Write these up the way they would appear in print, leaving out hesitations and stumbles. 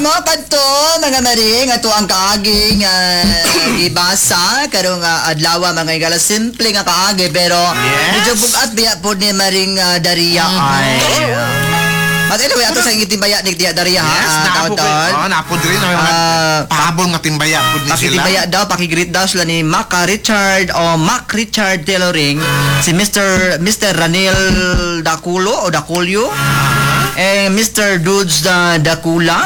Mo kadto, mga maring, ato ang kaagi nga gibasa karong adlaw, mga higala. Simple nga kaagi pero medyo bugat biya po ni Maring Daria ay. But anyway, ato sa itimbaya ni Tia Daria ha. Yes, naapo ko. Taon-taon. Oh, naapo diri na may mga pahabol nga timbaya pud ni sila. Pakitimbaya daw, pakigreet daw sila ni Maca Richard o Mac Richard Tailoring, si Mr. Ranil Daculo o Daculio, eh, Mr. Dudes Dacula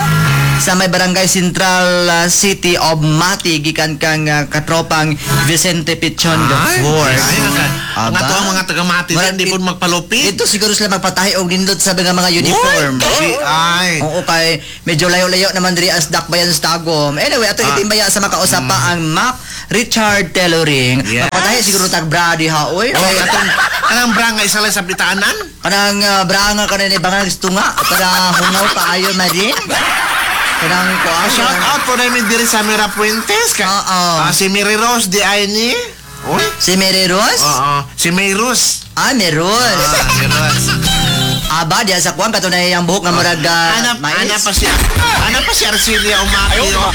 sa may Barangay Central, City of Mati, gikan kang katropang Vicente Pichon the Ay, Fourth. ay, ang Aba. ato ang mga taga-Mati Murag di pud magpalupit. Ito siguro sila magpatahi og nindot sa mga uniform. Uy, ay. Oo, kay medyo layo-layo naman diri as Dakbayan sa Tagum. Anyway, ato itimbaya sa makausap pa ang Mac Richard Tailoring. Magpatahi siguro tag bra diha oy. Oh, atong kanang bra nga isa lang sa bitaanan. Kanang bra nga kanin ibang tunga para hungaw kaayo marin. Kanang kuan. Shout out po namin diri sa Mira Puentes. Ka, Oo. Si Mary Rose di ay ni. Uy. Si Mary Rose? Oo. Si May Rose. Ah, Mary Rose. Ah, Mary Rose. Aba, diya sa kuan katunay ang buhok nga murag Ana, mais. ana pa si Arcelia Umaki. Oh.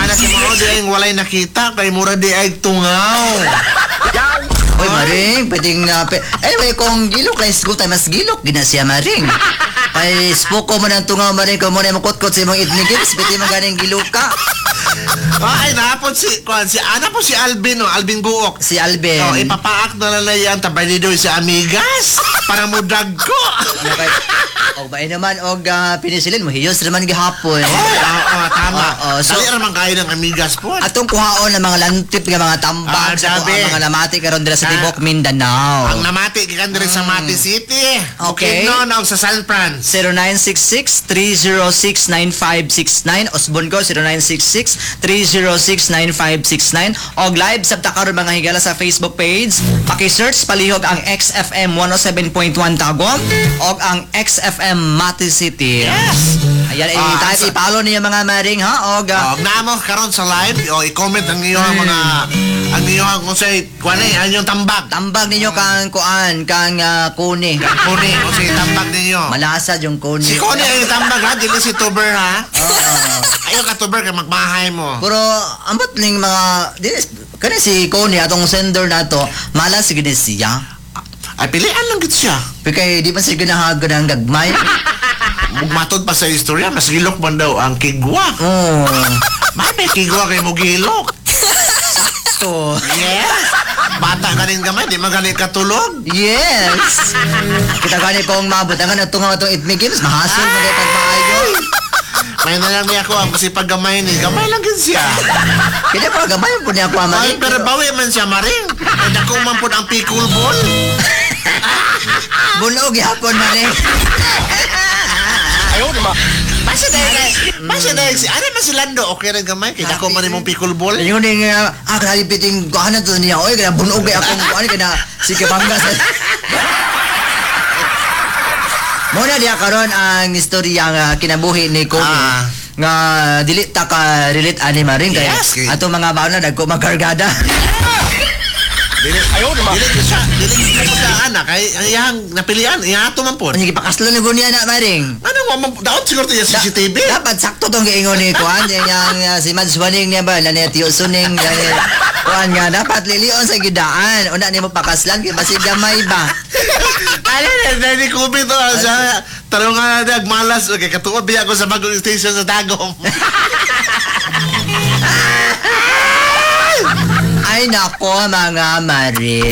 Ana si Mao di ay walay nakita kay mura di ay tungaw. Uy, Maring, pwedeng, anyway, kung gilok lang school time, mas gilok, gina siya, Maring. Kay spoko mo ng tungaw, Maring, kung muna mo kutkot sa imong ethnic games, pwede mo ganing giluka. Ay, napod si kuan si ana po si Alvin, oh, Alvin Guok. Si Alvin. Oh, ipapaak na lang na yan tabay ni doy sa amigas para mo dagko. Ano kay, og ba naman, og pinisilin mo, hiyos naman gihapon. Oy, oo, tama. Oo, so- Dali ra man kayo ng amigas po. Atong kuhaon ng mga lantip nga mga tambak sa Grabe. ang mga namati karon dira sa Tibok, Mindanao. Ang namati gikan diri sa Mati City. Okay. Bukidnon og sa San Fran. 0966-306-9569. Osbon ko, 0966-306-9569. Og live sa karon, mga higala, sa Facebook page. Paki-search palihog ang XFM 107.1 Tagum og ang XFM Mati City. Yes. Ayan, type, i-follow niyo mga maring ha og Og naamo karon sa live, o i-comment ang iyong mga ang iyong kung say kuan eh, ang iyong tambag. Tambag ninyo kang kuan kang kuni. Kang kuni, kung say tambag ninyo. Malasa yung kuni. Si Kuni ang tambag ha, dili si Tuber ha. Oo. Ayaw ka Tuber kay magmahay mo. Pero ambot ning mga di kani si Kuni atong sender nato, malas sige ni siya. Ay pilian lang gid siya. Pero kay di pa siya ganahagan ang gagmay. Mugmatod pa sa istorya, mas gilok man daw ang kigwa. Oo. Mami, kigwa kay mo gilok. To. Yes. Bata ka rin gamay, di man gani katulog. Yes. Kita gani kung mabot ang ano tungaw atong Itmi Games, mahasol mo kay pagmaayo. May na lang niya ako ang kasi pag gamay ni, gamay lang gid siya. Kaya pa gamay po niya ako Ay, maring. pero bawi man siya maring. Ay, dako man po ang pickle ball. Bunog gihapon maring. Basta dahil, si, ano man si Lando, okay rin gamay, kay dako man imong pickle ball. Yun yung grabe piting kuha na to niya. Oy, kaya bunog kay akong kuha kaya sige bangga sa. Muna diya karon ang istorya nga kinabuhi ni Kobe. Nga dili ta ka relate ani maring kay atong mga baon na dagko magkargada. Dili, dili ko siya, dili ko siya anak, kay ang iyang napilian, iya ato man po. Unya gipakaslan ni niya na maring. Ano wa man, daot siguro to iya CCTV. Dapat sakto tong giingon ni kuan yang si Mads Waning niya ba lani Tiyo Suning lani kuan nga dapat lilion sa gidaan. Una nimo pakaslan kay basig gamay ba. Ano na, ni Kobe to, siya, tarong nga na, malas, okay, katuod biya ako sa bagong station sa Tagum. Ay nako mga maring.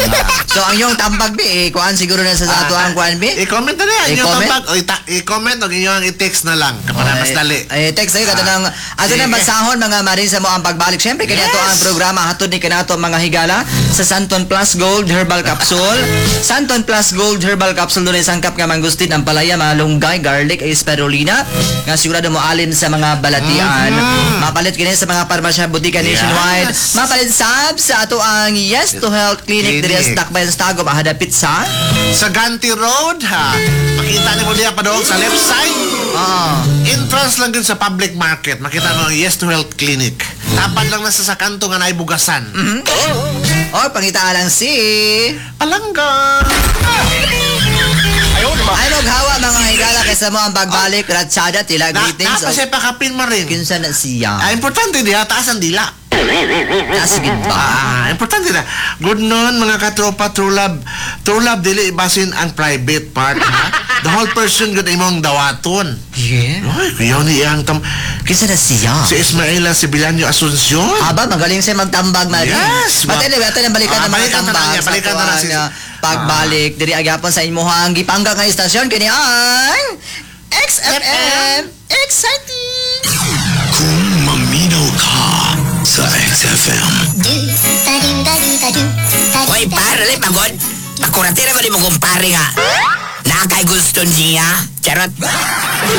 So ang iyong tambag bi eh, kuan siguro na sa ato ang kuan bi. I-comment na niya, inyong I-comment? tambag, o i-comment o inyong i-text na lang, kapag mas dali. Ay, text ayo kato nang ato nang Sige. basahon mga maring sa mo ang pagbalik. Syempre kaniato ang programa hatod ni kanato mga higala sa Santon Plus Gold Herbal Capsule. Santon Plus Gold Herbal Capsule dunay sangkap nga mangustin ang palaya, malunggay, garlic, ay spirulina nga sigurado mo alin sa mga balatian. Mapalit kini sa mga parmasya butika nationwide. Mapalit sab sa ato ang Yes to Health Clinic diri Clinic. sa Dakbayan sa Tagum hadapit sa Sa Ganti Road, ha? Makita ni mo diya padong sa left side. Entrance lang din sa public market. Makita mo ang Yes to Health Clinic. Tapad lang nasa sa kanto nga naibugasan. Oh, pangita lang si Palangga! Ay maghawa, mga higala, kaysa mo ang pagbalik, Ratsada, tila Na, greetings. napa siya pakapin mo rin. Kinsa na siya? Ah, importante diha, taas ang dila. Taas gid ba? Ah, importante na. Good noon, mga katropa, true love. True love, dili basin ang private part, ha? The whole person gud imong dawaton. Yeah. Ay, kuyaw ni iyang tam. Kinsa na siya? Si Ismaela Sibilanyo Asuncion. Aba, magaling siya magtambag, Marie. Yes, But anyway, ato nang balikan Ah, ang mga balikan na tambag lang niya, sa balikan na lang tuwang, pagbalik. Diri agyapon sa imuhang gipangga nga istasyon kini ang XFM. Exciting! Kung maminaw ka sa XFM. Hoy, pare, dali, pagod. Pakuratira ba di mo kumpare nga? Nakay gusto niya? Charot.